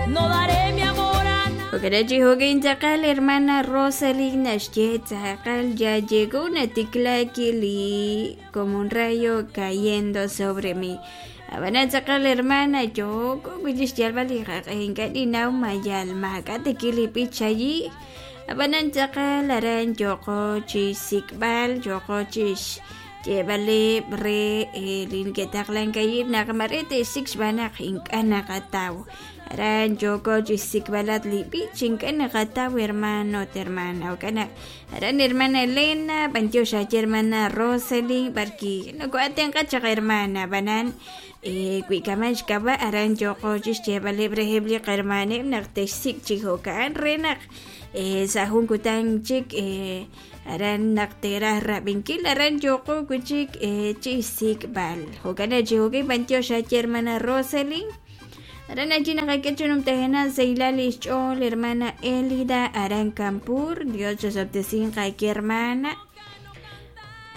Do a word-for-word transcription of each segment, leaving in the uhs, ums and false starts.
No daré mi amor a nadie. Jo'kan chi tz'aqal hermana Rosalind naxye tz'aqal ya llegó una tiklaki como un rayo cayendo sobre mí. Ab'anan tz'aqal hermana yooko wi' xyalb'al li qaq'e ink'a' ninnaw mayal maak'a' tikil li b'ich allí. Ab'anan tz'aqal aran yooko chi xsik'b'al yooko chi xyeeb'aleb' re li neke'taqlan naq mare te'xsik' xb'aan naq ink'a' naqataw. Aran yooko chi xsik'b'alat li b'ich ink'a' naqataw hermano ut hermana. Jo'kan naq aran hermana Elena b'antiox aye hermana Rosalind b'arki noko'atenq'a chaq hermana ab'anan wi kaman xk'ab'a' aran yooko chi xyeeb'aleb' reheb' li qahermaneb' naq te'xsik' chi jo'kan re naq sa' jun kutan chik aran naq te'raj rab'inkil aran yooko wi' chik chi xsik'b'al. Jo'kan chi jo'kan b'antiox aye hermana Rosalind. Aran allí naqak'e chunumtajena sahilal li xch'ool hermana Elida aran Campur. Dios chosob'tesinqa aki hermana.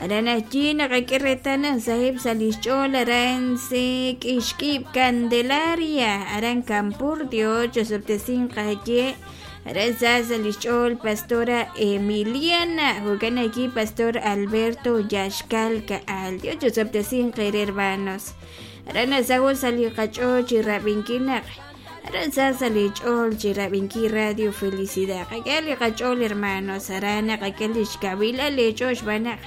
Aran allí naqak'e reetal naq saheb' sa' li xch'ool aran se k'ixk'ib' Candelaria aran Campur. Dios chosob'tesinqa aye. Aran sa sa' li xch'ool pastora Emiliana. Jo'kan aquí pastor Alberto Yaxkal Ka'al. Dios chosob'tesinqa hermanos. Aran nasawo sa' li qach'ool chi rab'inkil naq aran sa sa' li ch'ool chi rab'inkil Radio Felicidad. Qak'e li qach'ool hermanos aran naqak'e li xkawilal li ch'ool xb'aan naq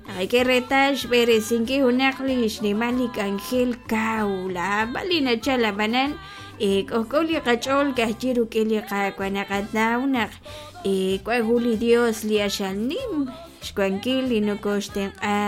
naqak'e reetal xb'eresinkil junaq li xnimal li k'anjel kaw laab'al li nachal ab'anan k'ojk'o li qach'ool kajchi ruk'in li Qaawa' naqanaw naq wan jun li Dios li axal nim xwankil li nokoxtenq'a.